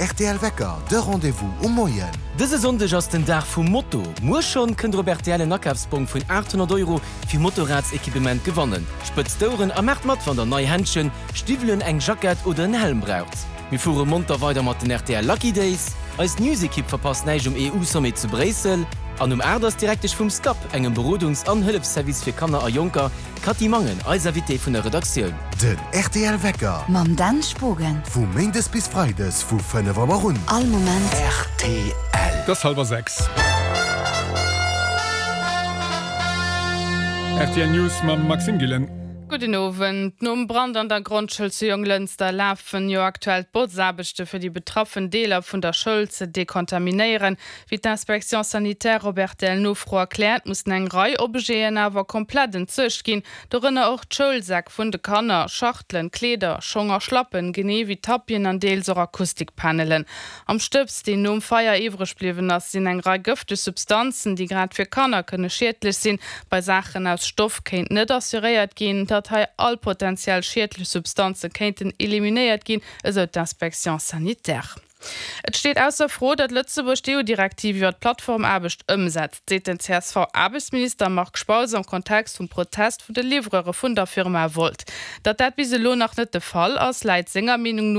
Rtl Wecker, de Rendez-vous um Moien. Dëse Sonndeg ass den Dag vum Moto. Muer schonn kënnt der op rtl en Akafsbong vun 800 Euro fir Motorradsequipement gewannen. Spëtzt d'Oueren a maacht mat wann der nei Händschen, Stiwwelen, eng Jackett oder en Helm braucht. Mir fuere monter weider mat den rtl Lucky Days. Eis News-Ekipp verpasst näischt um EU-Sommet zu Bréissel. An um 8 ass d'Direktesch vum SCAP, engem Berodungs an Hëllefsservice fir Kanner a Jonker, D'Cathy Mangen, eis Invitée vun der Redaktioun. Den rtl Wecker. Mam Dan Spogen. Vu Méindes bis Freides vu 5 Auer un. All Moment. Rtl. Et ass hallwer 6. Rtl News mam Maxime Gillen. Gudden Owend. Nom Brand an der Grondschoul zu Jonglënster lafen jo aktuell d'Botzaarbechte fir déi betraffen Deeler vun der Schoul ze dekontaminéieren. Wéi d'Inspection sanitaire op RTL-Nofro erkläert, mussen eng Rei Objeten awer komplett entsuergt ginn, dorënner och d'Schoulsäck vun de Kanner, Schachtelen, Kleeder, Schong a Schlappen, genee wéi Tapien an deels och Akustikpanelen. Am Stëbs, deen nom Feier iwwreg bliwwen ass, sinn eng Rei gëfteg Substanzen, déi grad fir Kanner kënne schiedlech sinn. Bei Saachen aus Stoff kéint net assuréiert ginn, datt hei all potentiell schiedlech Substanze kéinten eliminéiert ginn, esou d'Inspection sanitaire. Et steet ausser Fro, datt Lëtzebuerg d'EU-Direktiv iwwer d'Plattformaarbecht ëmsetzt, seet den CSV-Aarbechtsminister Marc Spautz am Kontext vum Protest vun de Livreure vun der Firma Wolt. Datt dat bis elo nach net de Fall ass, läit senger Meenung no.